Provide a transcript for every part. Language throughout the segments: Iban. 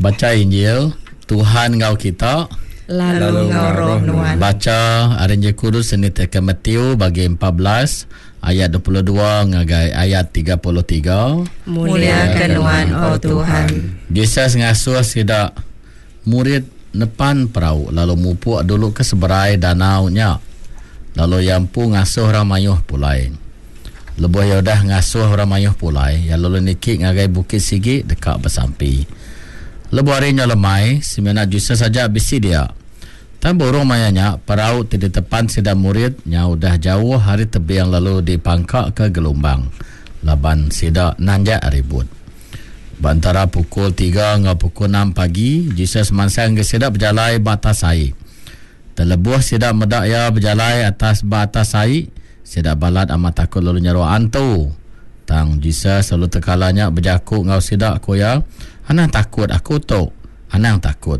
Bacha Injil, Tuhan enggau kita. Lalu enggau roh nuan. Bacha ari Injil Kudus nitihka Matthew bagi 14 ayat 22 ngagai ayat 33. Mulia ke nuan, O Tuhan. Jesus ngasuh sida murid nepan perau lalu mupuk dulu ke seberai danau nya. Lalu iya empu ngasuh orang mayuh pulai. Lebuh iya udah ngasuh orang mayuh pulai, iya lalu niki ngagai bukit sigi deka besampi. Lebuh hari nyau lemai, semina Jesus aja bisi dia. Tang ba urung maya nya, perau ti ditepan sida murid nyau udah jauh ari tebing lalu dipangkaka gelumbang laban sida nanjak ribut. Ba entara pukul tiga enggau pukul enam pagi, Jesus mansang ngagai sida bejalai ba atas ai. Tang lebuh sida meda iya bejalai atas ba atas ai, sida balat amat takut lalu nyeruk antu. Tang Jesus lalu tekala nya bejaku enggau sida, ku iya, Anang takut, aku tu. Anang takut.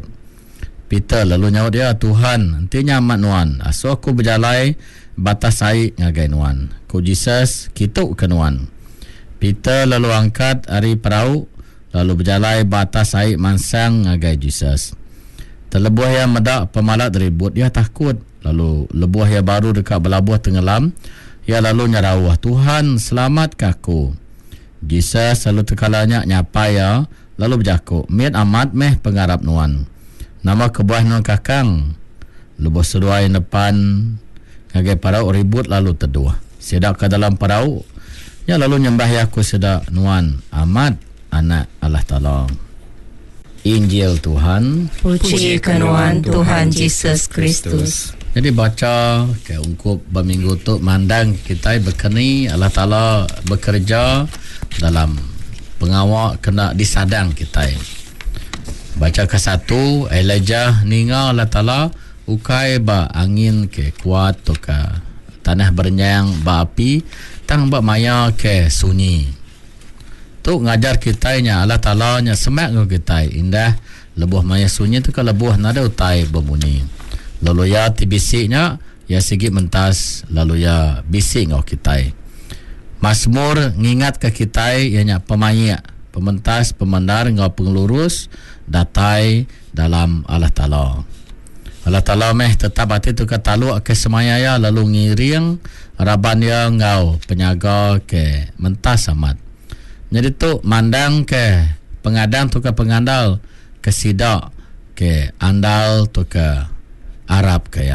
Peter lalu nyaut iya, Tuhan, enti nya amat nuan, asuh aku bejalai ba atas ai ngagai nuan. Ku Jesus, Kitu ke nuan. Peter lalu angkat ari perau, lalu bejalai ba atas ai mansang ngagai Jesus. Tang lebuh iya meda pemalat ribut, iya takut, lalu lebuh iya baru deka belabuh tengelam, iya lalu nyerauh, Tuhan, selamatka aku! Jesus lalu tekala nya nyapai iya, lalu bejaku, Mit amat meh pengarap nuan. Nama kebuah nuan kakang? Lebuh seduai nepan ngagai perau ribut lalu teduh. Sida ke dalam perau nya lalu nyembah iya ku sida, Nuan amat Anak Allah Taala. Injil Tuhan. Puji ke Nuan, Tuhan Jesus Kristus. Nyadi bacha ke ungkup ba minggu tu mandang kitai bekeni Allah Taala bekereja dalam pengawa kena disadang kitai. Bacha ke satu, Elijah ninga Allah Taala ukai ba angin ke kuat tauka tanah berenyang ba api tang ba maya ke sunyi. Tu ngajar kitai nya Allah Taala nya semak enggau kitai indah lebuh maya sunyi tauka lebuh nadai utai bemunyi. Lalu iya ti bisi nya, iya sigi mentas lalu iya bisi enggau kitai. Masmur ngingatka kitai iya nya pemaik, pementas, pemendar enggau pengelurus datai dalam Allah Taala. Allah Taala meh tetap ati tauka taluk ke semaya Iya lalu ngiring raban Iya enggau penyaga ke mentas amat. Nyadi tu mandangka pengadang tauka pengandal ke sida ke andal tauka arapka Iya.